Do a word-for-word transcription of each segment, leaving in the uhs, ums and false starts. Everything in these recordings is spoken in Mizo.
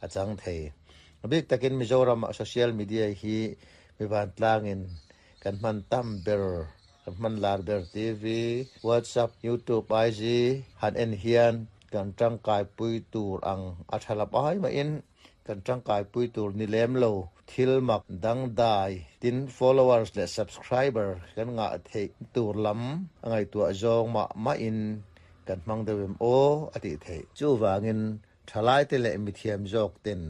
A chang thei bik takin Mizoram social media hi mi van tlangin kan hman tam ber kan hman lar ber T V, WhatsApp, YouTube, I G han en hian kan tangkai pui tur ang a thalap ai ma in kan tangkai pui tur ni lem lo thil mak dang dai tin followers le subscriber kan nga thei tur lam angai tu zawng ma ma in kan mang deuh o ati thei chu wangin thalai te le mi thiam zawk ten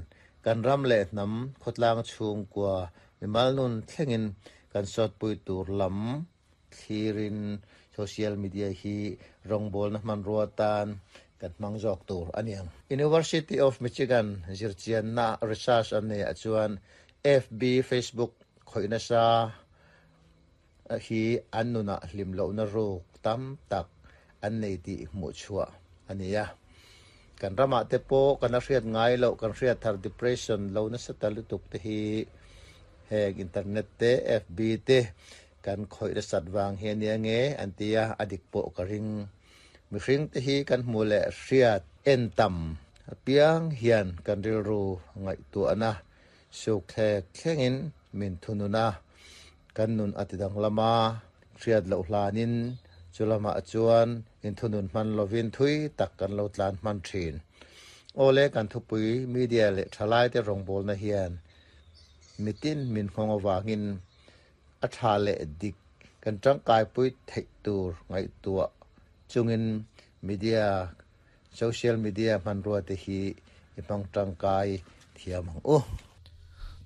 kan ram le nam khotlang chung kwa mi malnun thlengin kan sot pui tur lam thlirin social media hi rongbol na man ruatan kan mang zawk tur aniang. University of Michigan zirchian na research an nei achuan F B, Facebook khoina sa hi an nuna hlim lo na ruk tam tak an nei ti mu chua ania. Kan rama te po kan hriat ngai lo kan hriat thar depression lo na sa talutuk te hi heng internet te, F B te kan khoi ra sat wang hian nia nge antia adik po ka ring. Mi hring te hi kan hmu le hriat en tam piang hian kan ril ru ngai tu ana suk thlek thlengin min thununa kan nun atidang lama hriat lo hlanin chulama chuan in thunun man lovin thui tak kan lo tlan man thin. Ole, kan thupui media le thalai te rongbol na hian mitin min khong awangin a tha le dik kan tangkai pui thei tur ngai tua chungin media, social media man ruwa te hi ipang tangkai thiam ang u.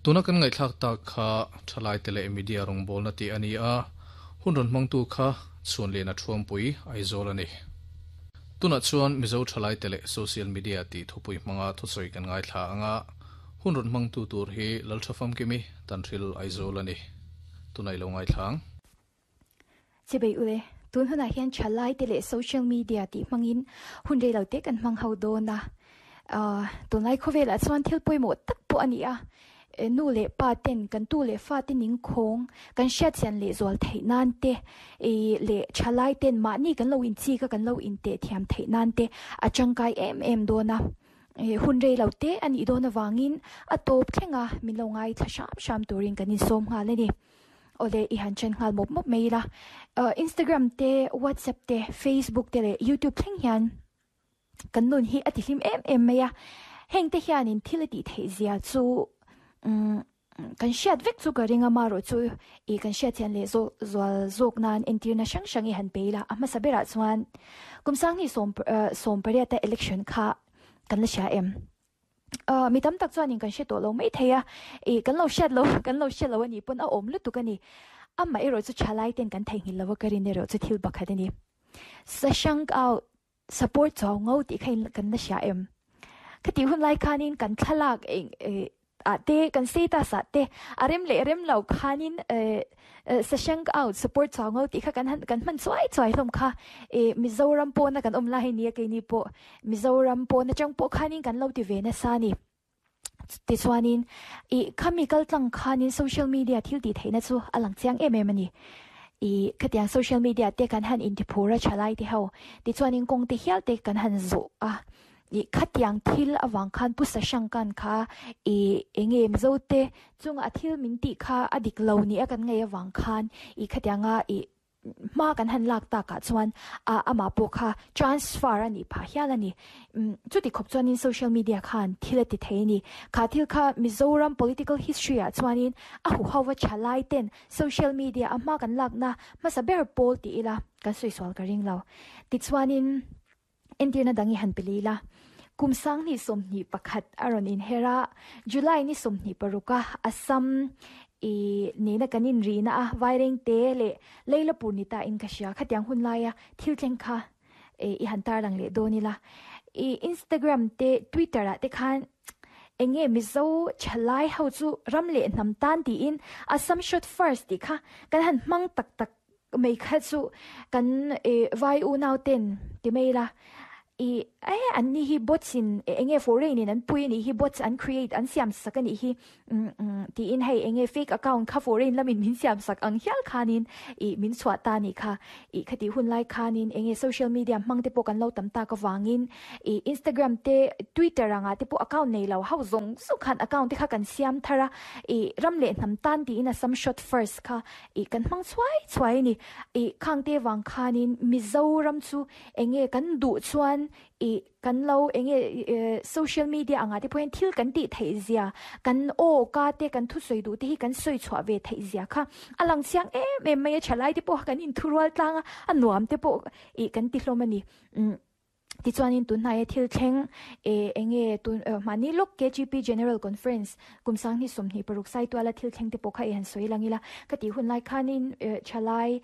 Tuna kan ngai thlak ta kha thalai tele media rong bol na ti ani a hun ron mang tu kha chun le na thuam pui Aizawl ani. Tuna chuan Mizo thalai tele social media ti thupui manga thu soi kan ngai thla anga hun ron mang tu tur hi lal thafam kimi Tanhril, Aizawl ani. Tunai lo ngai thlang. Chibai ule, tun huna hian thalai te le social media ti mangin hun rei lo te kan mang ho do na uh tunlai khowela chuan thil poimo tak po ani a. Nu le pa ten kan tu le fa te ning khong kan hriat chian le zual thei nan te e le thalai ten ma ni kan lo in chi ka kan lo in te thiam thei nan te a changkai em em do na e hun rei lo te ani do na wangin a top thlenga min lo ngai thla sham sham turin kan in som nga le ni. Ole, i han chen ngal mop mop mei la. Instagram te, WhatsApp te, Facebook te le YouTube thleng hian kan nun hi ati hlim em em mai a. Heng te hian in thil ti thei zia chu um kan hriat vek chu ka ringa ma ro chu i kan hriat hian le zo zual zawk nan entir na hrang hrang i han pe la. A hmasa berah chuan kum sang ni som som pariat ta election kha kan la hria em? Mi tam tak chuan in kan hre tawh lo mai thei a e kan lo hriat lo kan lo hriat lo ani pawn a awm lutuk ani. Ama erawh chu thalai ten kan theihnghilh lo a ka rin erawh chu thil pakhat ani. Sashank out support chaw ngo ti khain kan la hria em? Khati hun lai khanin kan thlalak eng a te kan status a te arem le rem lo khanin sashank out support chaw ngo ti kha kan kan man chuai chuai hlom kha e. Mizoram po na kan om la hi ni ke ni po Mizoram po na chang po khanin kan lo ti ve na sa ni. Ti chuanin i khami kal tlang khanin social media thil ti theina chu alang chiang em em ani. I khatiang social media te kan han in ti phura chalai te ho ti chuanin kong te hial te kan han zo a i khatiang thil awang khan pu sa shangkan kha i enge mizo te chunga thil min ti kha adik lo ni a kan ngai awang khan i khatianga i ma kan han lak ta ka chuan a ama po kha transfer ani pha hial ani. Chu ti khop chuan in social media khan thil ti thei ni. Kha thil kha Mizoram political history a chuanin a hu hawa chalai ten social media a ma kan lak na ma sa ber pol ti ila kan sui swal ka ring lo. Ti chuanin entirna dangi han pelila. Kum sang ni som ni pakhat aron in hera July ni som ni paruka Assam e ni na kanin ri na a Vaireng te le leila purnita in ka sia khatiang hun laia thil thleng kha e i han tar lang le do ni la. E Instagram te, Twitter a te khan enge Mizo chalai ho chu ram le nam tan ti in Assam shot first ti kha kan han mang tak tak mei kha chu kan e vai u nau ten ti mei la. I eh an ni hi bots in enge foreign in an pui ni hi bots an create an siam sak ani hi ti in hei enge fake account kha foreign lamin min siam sak ang hial khanin i min chhuah ta ni kha i khati hun lai khanin enge social media hmang te pawh kan lo tam ta ka wangin i Instagram te Twitter anga te pawh account nei lo ho zawng zawng khan account te kha kan siam thara i ram leh hnam tan ti in a some shot first kha i kan hmang chhuai chhuai ni i khang te wang khanin Mizoram chu enge kan du chuan i kan lo enge social media anga te point thil kan ti thei zia kan o ka te kan thu soi du te hi kan soi chhuah ve thei zia kha alang chiang em em mai chalai te pawh kan in thurual tlanga a nuam te pawh i kan ti hlawm ani ti chuanin tun hnai thil thleng e enge tun mani lok K G P General Conference kumsang ni somni paruk sai tuala thil thleng te pawh kha e han soi langila ka ti hun lai khanin chalai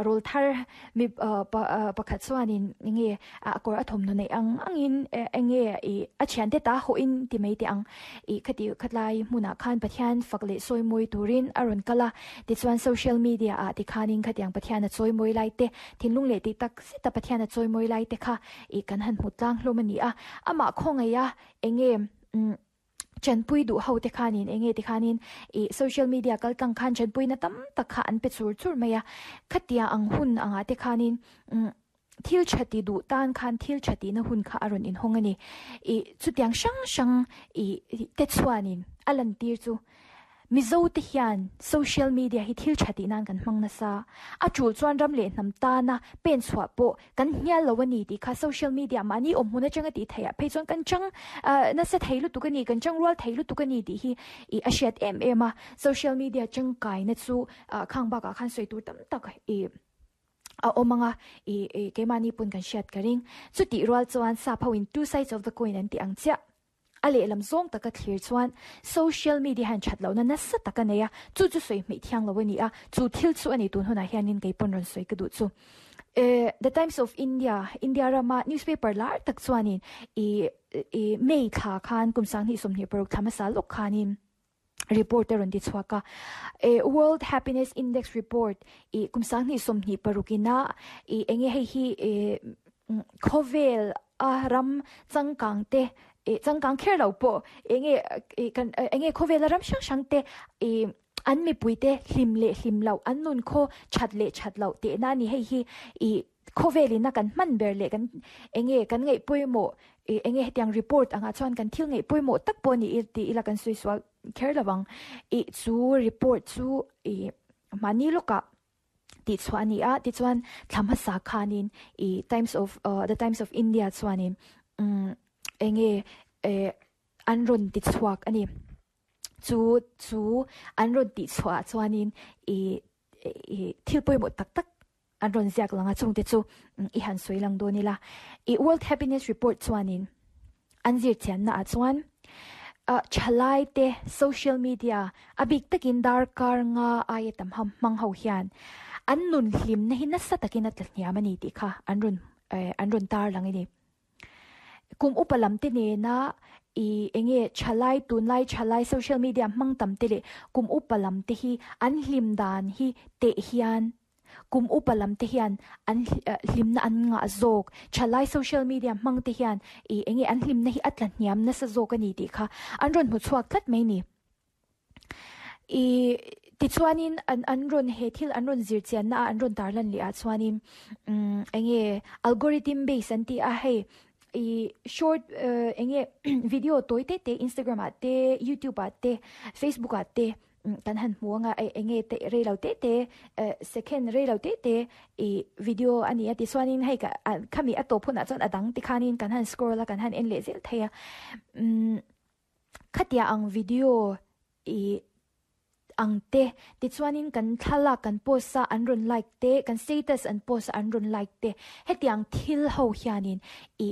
rol thar mi pakhat chuanin enge a kor athom no nei ang angin enge i a thian te ta ho in ti mai te ang i khati khatlai hmuna khan Pathian fakle soi moi turin aron kala ti chuan social media a ti khanin khatiang Pathian a choi moi lai te thinlung le ti tak seta Pathian a choi moi lai te kha i kan han mutlang hlomani a ama khongaya enge chanpui du ho te khanin enge te khanin i social media kal tang khan chanpui na tam tak kha an pe chur chur maya khatia ang hun anga te khanin thil chati du tan khan thil chati na hun kha aron in hongani i chutiang sang sang i te chuanin alan tir chu Mizo te hian social media hi thil chati nan kan hmang na sa a chul chuan ram le hnam ta na pen chhuah pawh kan hnial lo ani ti kha social media mani awm hmun atanga ti theia phei chuan kan chang na se thei lutuk ani kan chang rual thei lutuk ani ti hi i a hriat em em a social media changkai na chu khang baka khan soi tur tam tak i a omanga i kemani pun kan hriat ka ring chu ti rual chuan sa phawin two sides of the coin an ti ang chia ale lam zong taka thlir chuan social media han chat lo na nasa taka neya chu chu soi mi thiang lo ani a chu thil chu ani tun huna hianin kei pon ron soi ka du chu eh The Times of India India rama newspaper lar tak chuanin i i mei tha khan kumsang ni somni paruk thama sa lok khanin reporter on di chhuaka e World Happiness Index report i kumsang ni somni parukina i enge hei hi e khovel a ram changkang te e changkang kher lo po enge kan enge khovel ram sang sang te e an mi puite hlim le hlim lo an nun kho chat le chat lo te na ni hei hi i khovelina kan man ber le kan enge kan ngai poimo enge hetiang report anga chuan kan thil ngai poimo tak po ni ti ila kan sui swal kher lawang i chu report chu i mani loka ti chuani a ti chuan thlama sa khanin i Times of uh, the Times of India chuanin um enge e an ron ti chuak ani chu chu an ron ti chua chuanin i i thil poimo tak tak an ron ziak langa chung te chu i han soi lang do nila i World Happiness Report chuanin an zir chian na a chuan a chalai te social media abik takin dar kar nga ayatam ham mang ho hian an nun hlim na hin sa takin at hniam ani ti kha an ron an ron tar lang ini kum upalam te ne na i enge chalai tunlai chalai social media mang tam te le kum upalam te hi an hlim dan hi te hian kum upalam te hian an hlim na an nga zok chalai social media mang te hian i enge an hlim na hi atla hniam na sa zok ani ti kha an ron mu chuak tlat mai ni i ti chuanin an an ron he thil an ron zir chian na an ron tarlan li a chuanin um enge algorithm based an ti a hei i short enge video toi te te Instagram a te YouTube a te Facebook a te kan han muanga enge te re lo te te second re lo te te i video ani ati chuanin hei ka khami ato phuna chuan adang ti khanin kan han scroll la kan han en le zel theia um khatia ang video i ang te ti chuanin kan thala kan post sa an ron like te kan status an post an ron like te hetiang thil ho hianin i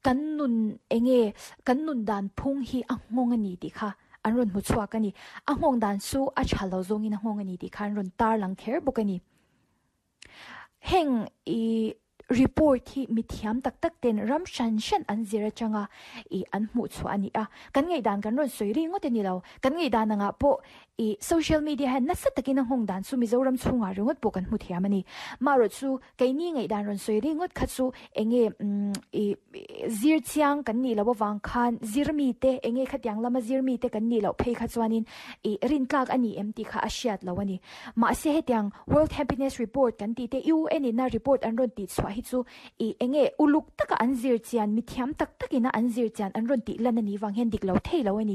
kan nun enge kan nun dan phung hi ang ngong ani ti kha an ron mu chuak ani a ngong dan su a chalo zong in a ngong ani ti khan ron tar lang kher bok ani heng i Report hi mithiam tak tak ten ram shan shan an zira changa i an hmu chu ani a. Kan ngei dan kan ron soiri ngote ni lo, kan ngei dan anga po i social media han nasa takin ang hong dan chu Mizoram chunga ringot po kan hmu thiam ani. Ma ro chu keini ngei dan ron soiri ngot kha chu enge i zir chiang kan ni lo wang khan zir mi te enge khatyang lama zir mi te kan ni lo phei kha chuanin i rin tlak ani em ti kha a hriat lo ani. Ma se hetiang World Happiness Report kan ti te U N na report an ron ti chwa hi chu i enge uluk taka an zir chian, mi thiam tak takina an zir chian an ron ti lan ani wang hian dik lo thei lo ani.